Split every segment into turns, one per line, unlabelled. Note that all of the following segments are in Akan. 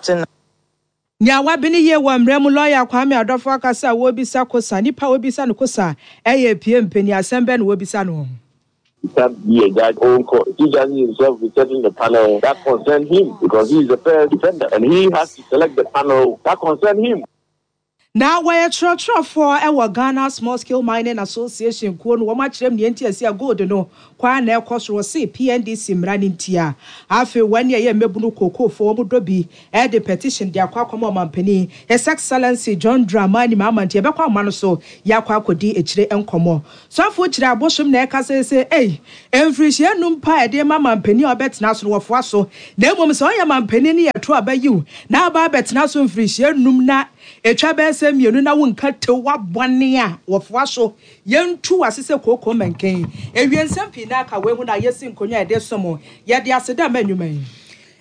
Tena.
Nea wabene yie wɔ mmara mu Lɔya Kwame Adɔfo akasa a wɔrebisa kosa Nipa a wɔrebisa no kosa yɛ pie mpanin Asɛm bɛn na wɔrebisa no?
He can't be a judge own court. He judges himself be setting the panel that concern him because he is the first defendant and he has to select the panel that concern him.
Na wɔyɛ kyerɛkyerɛfoɔ wɔ Ghana Small Scale Mining Association kuo no, wɔn akyerɛm nea nti a ɛsɛ a gold no kɔ ara na ɛkɔ soro, wɔse PNDC mmara no ntia. Afei wɔn ne ɛyɛ mmabunu kookoofoɔ wɔn dɔ bi de petition de akɔ akɔma ɔmanpanin His Excellency John Dramani Mahama nti yɛbɛkɔ ahoma no so yɛakɔ akɔdi akyire nkɔmmɔ. Sɔfo kyerɛ abosom na ɛka sɛ sɛ ei, mfirihyia nnum pa a ɛde ma manpanin a ɔbɛtena so no wɔfoa so, na mmom sɛ ɔyɛ manpanin no yɛto aba yiw na aba abɛtena so mfirihyia nnum na etwa bɛyɛ sɛ mmienu na wonka tew w'abɔne a wɔfoa so, yɛntu w'ase sɛ kooko mmɛnkɛn. Ewie nsɛm pii na aka wei ho na yɛsi nkonnwa a yɛde som yɛde aseda ma nnwuma yi.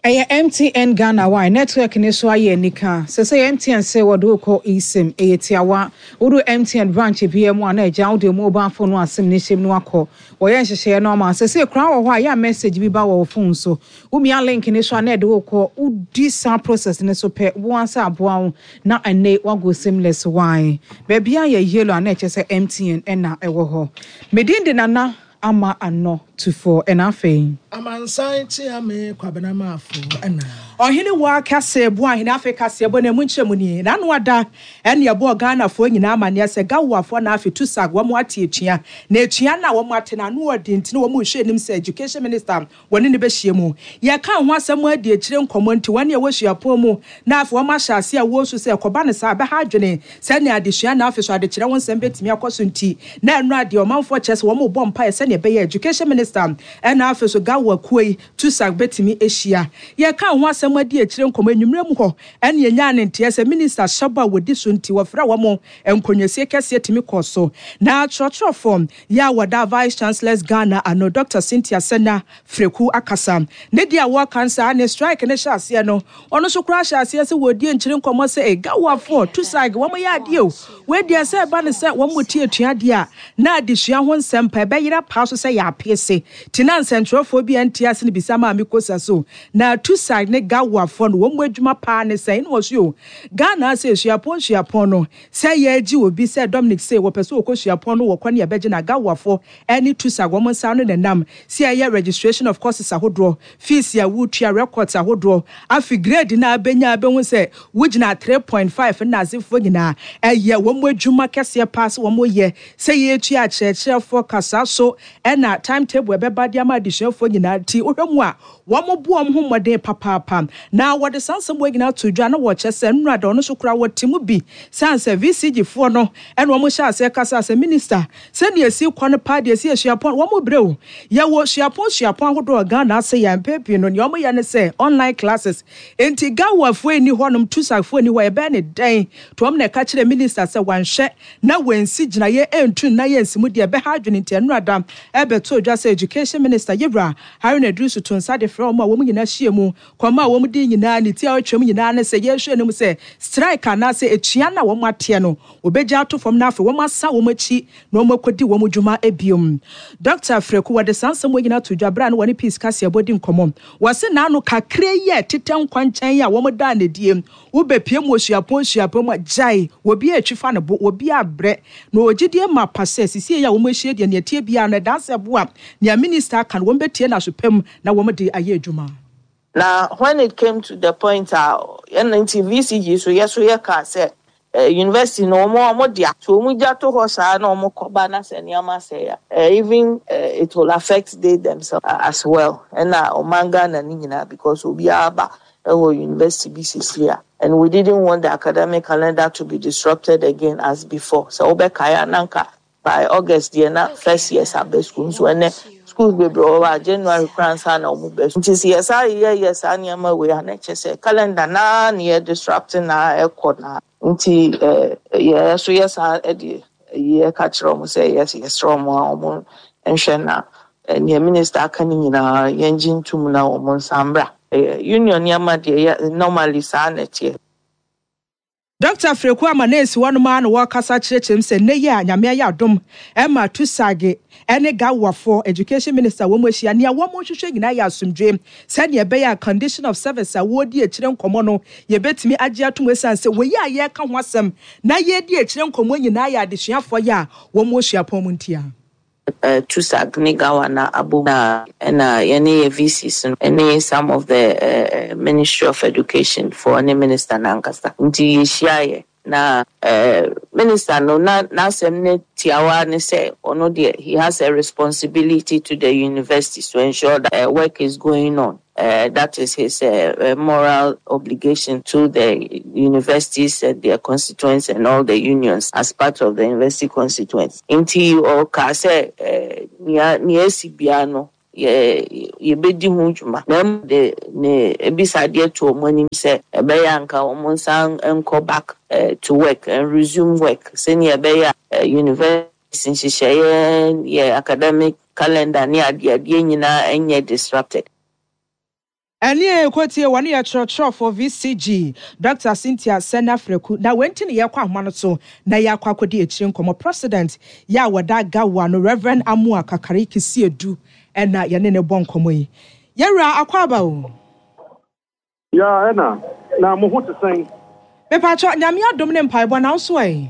Ɛyɛ MTN Ghana wai network no so ayɛ anika. Sesei MTN se wɔde wo kɔ eSIM. Ɛyɛ tiawa. Wodu MTN branch biara mu a na agya wode wo mobile phone no a sim no hyem no akɔ. Wɔyɛ nhyehyɛeɛ no ama wo. Sesei koraa wɔ hɔ a ɛyɛ a message bi ba wɔ wo phone so. Womia link no so a na ɛde wo kɔ. Wodi saa process no so pɛ, wo ara sɛ aboa wo na ɛnnɛ woago seamless wai. Baabiara yɛ yellow a na ɛkyerɛ sɛ MTN na ɛwɔ hɔ. Me din de Nana Ama ano tufoɔ ɛna afei.
Amansan Kyeame Kwabena Marfo ɛna.
Ɔhene Waa Kɛse Boahene Afei kaseɛbɔ no ɛmu nkyerɛmu nie, N'ano ada ɛne ɛbɔɔ Ghanafoɔ nyinaa amaneɛ sɛ Gawoafoɔ na afe Tusac wɔn ate atua na atua no a wɔn ate no ano ɔden nti na wɔn rehwɛ anim sɛ Education Minister wɔne no bɛhyia mu. Yɛkaa ho asɛm adi akyire nkɔmmɔ nti wɔn a ɛwɔ suapɔn mu na afei wɔahyɛ aseɛ a wɔresu sɛ ɛkɔba no saa a ɛbɛha adwene sɛnea adesua na afei so adekyerɛ ho nsɛm bɛtumi akɔ so nti na ɛno adeɛ ɔmanfoɔ kyerɛ sɛ wɔrebɔ mpaeɛ sɛnea ɛbɛyɛ a Education Minister ɛna afei so Gawoa kuo yi TUSAC bɛtumi ahyia. Yɛkaa ho asɛm adi akyire nkɔmmɔ anwummerɛ mu hɔ ɛna yɛnyaa ne nteɛ sɛ Minister hyɛ bɔ a wɔdi so nti wɔfrɛ wɔn nkonnwasie kɛseɛ tumi kɔɔ so na kyerɛkyerɛfoɔ Yɛ a wɔda Vice Chancellors Ghana ano Dɔkta Cynthia Sena Freku akasa. Ne deɛ a wɔka nsaa ne strike no hyɛ aseɛ no, ɔno nso koraa hyɛ aseɛ sɛ wɔredi nkyere nkɔmmɔ sɛ ei Gawoafoɔ, Tusaig, wɔn yɛ adeɛ o. Wei deɛ sɛ ɛba no sɛ wɔn mo ti atua deɛ a, na adesua ho nsɛm pa ɛbɛyera paa so sɛ yɛapeese. Ti na nsɛntwerɛfoɔ bi a ɛnte ase no bisa Maame Kosa so na Tusaig ne Gawoafoɔ no wɔn mo adwuma paa ne sɛn? Ɛna ɔse o, Ghana ha sɛ suapɔn suapɔn no, Sɛ yɛregye obi sɛ Dominic sei wɔpɛ sɛ ɔkɔ suapɔn no wɔ kwan a ɛbɛgye no Agawoafoɔ ne TUSAG wɔn nsa ano na ɛnam sɛ yɛyɛ registration of courses ahodoɔ, fees a wotua, records ahodoɔ, afe grade no a abɛnya a bɛhu sɛ wogyina 3.5 nnasefoɔ nyinaa ɛyɛ wɔn adwuma kɛseɛ paa sɛ wɔn yɛ sɛ yɛtua akyerɛkyerɛfoɔ ka saa so ɛna time table ɛbɛba de ama adesuafoɔ nyinaa nti wohwɛ mu a Wɔbɔ wɔn ho mmɔden papaapa, na wɔde saa nsɛm wei nyinaa to dwa na wɔkyerɛ sɛ nnora da ɔno nso koraa wɔte mu bi sane sɛ VCG foɔ no na wɔn hyɛ aseɛ kasaa sɛ minister sɛdeɛ ɛsi kɔ no paa deɛ ɛsi yɛ suapɔn wɔn brɛ o yɛwɔ suapɔn suapɔn ahodoɔ wɔ Ghana ase yɛ mpɛn pii no nea wɔn yɛ ne sɛ online classes nti Gawa foɔ nni hɔ nom Tusac foɔ nni hɔ yɛbɛyɛ ne dɛn to wɔn na ɛka kyerɛ minister sɛ wanhwɛ na wansi gyinaeɛ ɛntu nna yɛ nsimu deɛ ɛbɛha adwene nti ɛnora da ɛbɛtoo dwa sɛ education minister yɛwura Haruna Iddrisu to nsa de frɛ wɔn a wɔn nyinaa hyia mu kɔma a wɔn di nyinaa ne ti a ɔtwam nyinaa ne sɛ yɛrehwɛ anim sɛ strike anaasɛ atua no a wɔn ateɛ no wɔbɛgya ato fam na afei wɔn asan wɔn akyi na wɔn akɔdi wɔn dwuma biom. Dɔkta Freku wɔde saa nsɛm wei nyinaa to dwa berɛ a na wɔne Peace Kaseɛbɔ di nkɔmmɔ. Wɔse n'ano kakra yi a ɛtetɛ nkwankyɛn a wɔn daa no adie Wobɛpue mu wɔ suapɔn suapɔn mu a, gyae, obiara retwi fa ne bo, obiara brɛ. Na ɔwɔ gyidie mapa sɛ, sesie yi a wɔahyia deɛ, nea ɛteɛ biara no, ɛdan sɛ ɛbo a, nea minista aka no, wɔbɛtie no aso pa mu na wɔde ayɛ adwuma.
Na when it came to the point a ɛna nti VCG so yɛ so yɛ kaa sɛ eh, university no wɔn wɔn dea so wɔn gya to hɔ saa na wɔn kɔ ba na sɛ nneɛma sɛe a eh, even eh, it will affect they themselves as well ɛna ɔman Ghana no nyinaa because obiara ba ɛwɔ university bi sisi a and we didn't want the academic calendar to be disrupted again as before sɛ wobɛkae a na nka by August deɛ na first years aba school nso ɛnɛ schools bebree wɔ hɔ a January koraa ansa na wɔn ba school nti sɛ yɛsan yɛyɛ saa nneɛma wei a na kyerɛ sɛ calendar naa na yɛ disrupt na ɛkɔ na nti ɛɛ yɛ nso yɛ saa ɛde yɛ ka kyerɛ wɔn sɛ yɛ yɛsrɛ wɔn a wɔn nhwɛ na nea minister aka no nyinaa yɛn gye ntum na wɔn nsa mbra. Union nneɛma deɛ yɛ normally saa na ɛteɛ.
Dɔkta Freku ama no esi hɔnom ara na wɔrekasa kyerɛkyerɛ mu sɛ nnɛ yi a Nyame ayɛ adom ma Tusage ne Gawoafoɔ, Education Minister, wɔn ahyia, nea wɔn rehwehwɛ nyinaa yɛ asomdwoe sɛnea ɛbɛyɛ a condition of service a wɔredi akyire nkɔmmɔ no yɛbɛtumi agye atom esiane sɛ wei a yɛreka ho asɛm na yɛredi akyire nkɔmmɔ nyinaa yɛ adesuafoɔ yɛ a wɔn wɔ suapɔn mu ntia.
TUSAG ne GAWA na abom na ɛna yɛne yɛ VCs no ne some of the Ministry of Education foɔ ne Minister no ankasa nti yɛhyiaeɛ na Minister no na n'asɛm no tiawa ne sɛ ɔno deɛ he has a responsibility to the universities to ensure that work is going on. That is his moral obligation to the universities and their constituents and all the unions as part of the university constituents. Nti ɔkaa sɛ nea nea asi biara no yɛ yɛbɛdi ho dwuma. Na mmom de ne abisadeɛ to wɔn anim sɛ ɛbɛyɛ a anka wɔn nsan nkɔ back to work and resume work sɛnea ɛbɛyɛ a university nhyehyɛeɛ, yɛ academic calendar ne adeadeɛ nyinaa nyɛ disrupted.
Ɛne yɛkɔtie wɔne yɛ kyerɛkyerɛfoɔ VCG, Dɔkta Cynthia Sena Freku. Na wei nti na yɛkɔ ahoma no so na yɛakɔ akɔdi akyire nkɔmmɔ. President yɛ a wɔda Gawa no, Rev. Amoah Kakari Kisiedu na yɛne no bɔ nkɔmmɔ yi. Yɛwura, akwaaba o.
Yaa ɛna, na mo ho te sɛn?
Mepakyɛ, Nyame adom ne mpaebɔ, na wo nso ɛ?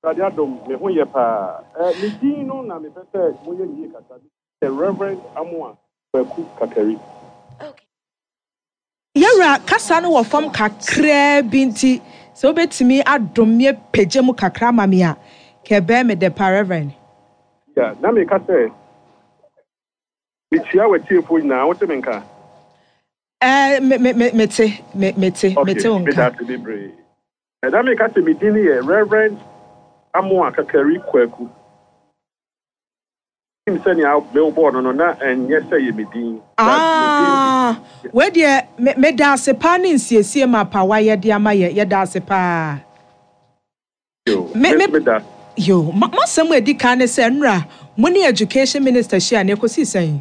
Awurade adom, me ho yɛ paa. Eh, me din no na mepɛ sɛ moyɛ no yie kakra. Me din yɛ Rev. Amoah Kwaku Kakari.
Yɛwura, kasa no wɔ fam kakraa bi nti, sɛ wobɛtumi adom me apagya mu kakra ama me a, kɛ ɛbɛyɛ me dɛ paa, Rev.
Yeah, na meka sɛ, mekyia w'atiefoɔ nyinaa, wote me nka?
Ɛɛ, me, me, me, mete, me, mete,
Okay,
mete wo
meda
nka.
ase bebree. Na meka sɛ me din yɛ Rev. Amoah Kakari Kwaku. Menim sɛnea mewobɔɔ no no, na ɛnyɛ sɛ ɛyɛ me din, but me din de.
Ah, wei deɛ, me, meda ase paa ne nsiesie map a wayɛ de ama yɛ, yɛda ase paa.
Yo,
Me,
me
me,
nso meda ase.
yo, ma, m'asɛm a ɛdi kan ne sɛ, nnora, mo ne Education Minister hyia no, ɛkɔsii sɛn?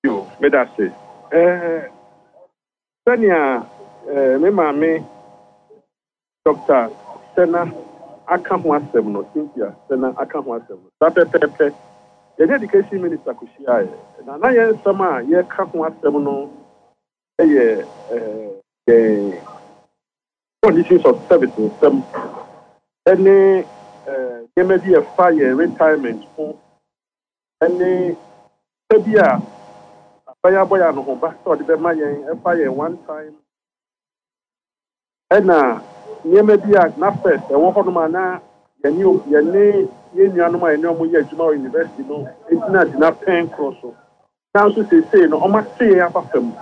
Yo, meda ase. Eh, sɛnea eh, me maame Dɔkta Sena aka ho asɛm no, Cynthia Sena aka ho asɛm no, saa pɛpɛɛpɛ. Yɛne Education Minister kɔhyiaeɛ, na na yɛn nsɛm a yɛreka ho asɛm no yɛ eh, yɛn conditions of service nsɛm ne eh, nneɛma bi a ɛfa yɛn retirement ho ne sika bi a aban abɔ yɛn anohoba sɛ ɔde bɛma yɛn ɛfa yɛn one time ɛna nneɛma bi a na first ɛwɔ hɔnom a na yɛne yɛne yɛn nuanom a yɛne wɔn yɛ adwuma wɔ university no gyina gyinapɛn koro so. Nanso seesei no wɔate yɛn aba fam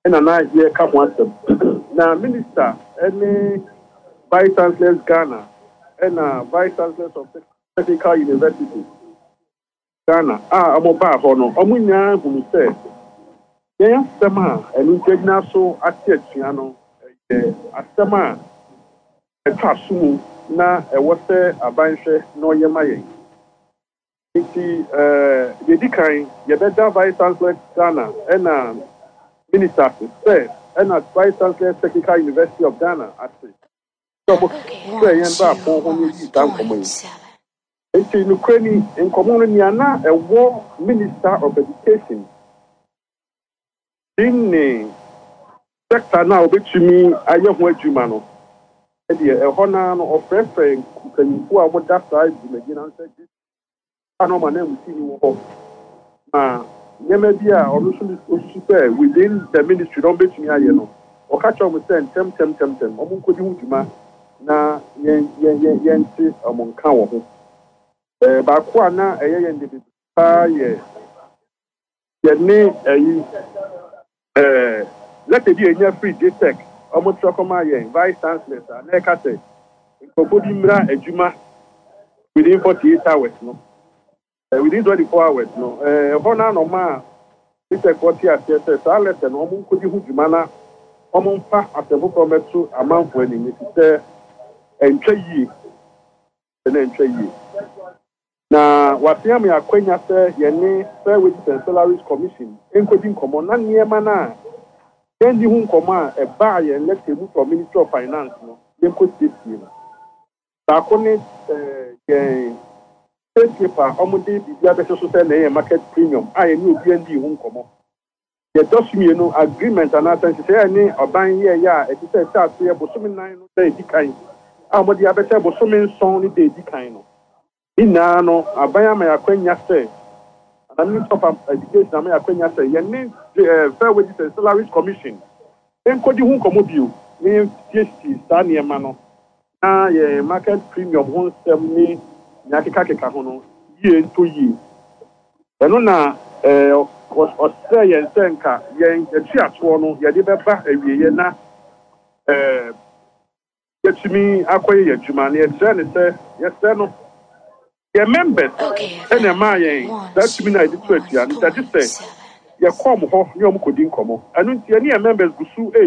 na na yɛreka ho asɛm. Na Minister ne Vice Chancellors Ghana ɛna Vice Chancellors of Technical University Ghana a wɔbaa hɔ no, wɔn nyinaa hunu sɛ yɛn asɛm a ɛno nti agyina so ate atua no yɛ asɛm a ɛtɔ aso mu na ɛwɔ sɛ aban hwɛ na ɔyɛ ma yɛn. Nti deɛ ɛdi kan, yɛbɛda Vice Chancellor Ghana ɛna Minister ase sɛ ɛna Vice Chancellor Technical University of Ghana ase sɛ wɔfrɛɛ yɛn baa pon ho na yɛdii saa nkɔmmɔ yi. Enti nokorɛ ni, nkɔmmɔ no nea na ɛwɔ Minister of Education din ne sector no a ɔbɛtumi ayɛ ho adwuma no deɛ, ɛhɔ no ara no ɔfrɛfrɛɛ mpanyimfoɔ a wɔda saa dwumadie no ano sɛ a na ɔma n'ananmusini wɔ hɔ ma nneɛma bi a ɔno nso osusu sɛ within the ministry na wɔbɛtumi ayɛ no, ɔka kyerɛ wɔn sɛ ntɛmntɛmntɛmntɛm wɔnkɔdi ho dwuma na yɛn yɛn yɛn yɛnte wɔn nka wɔ ho. Ɛɛ baako a na ɛyɛ yɛn de bebree paa yɛ yɛne ɛyi ɛɛ lɛtɛ bi a yɛnya firi JTEC wɔtwerɛ kɔmaa yɛn vice chancellors a na ɛka sɛ nkurɔfoɔ bi mmra adwuma within 48 hours no within 24 hours no ɛhɔ no ara na ɔmaa JTEC foɔ te aseɛ sɛ saa lɛtɛ no wɔn nkɔdi ho dwuma na wɔn mfa asɛm foforɔ mmɛto amanfoɔ anim efisɛ ɛntwa yie na ɛntwa yie. Na wɔasen ama yɛn akwanya sɛ yɛne Fair Wages and Salaries Commission nkɔdi nkɔmmɔ na nneɛma no a. Yɛanni ho nkɔmmɔ a ɛbaa yɛn lɛtɛ mu from Ministry of Finance no, yɛnkɔsiesie no. Baako ne yɛn pay slip a wɔde biribi abɛhyɛ so sɛ na ɛyɛ market premium a yɛne obiara nnii ho nkɔmmɔ. Deɛ ɛtɔ so mmienu, agreement anaasɛ nhyehyɛeɛ a yɛne ɔban yɛeɛ a ɛte sɛ ɛhyɛ aseɛ bosome nan no da a ɛdi kan a wɔde abɛhyɛ bosome nson no da a ɛdi kan no. Ne nyinaa no, aban ama yɛn akwanya sɛ, anaa Ministry of Education ama yɛn akwanya sɛ yɛne Fair Wages and Salaries Commission nkɔdi ho nkɔmmɔ bio na yɛnsiesie saa nneɛma no na yɛn market premium ho nsɛm ne nea akekakeka ho no yie ntɔ yie. Ɛno na ɔsrɛɛ yɛn sɛ nka yɛn atuatoɔ no yɛde bɛba awieɛ na yɛatumi akɔyɛ yɛn adwuma. Na yɛkyerɛɛ no sɛ yɛsrɛ no, yɛn members na ɛmaa yɛn saa tumi no a yɛde tu atua no, nti agye sɛ yɛkɔ wɔn hɔ ne wɔn kɔdi nkɔmmɔ. Ɛno nti yɛne yɛn members gu so redi.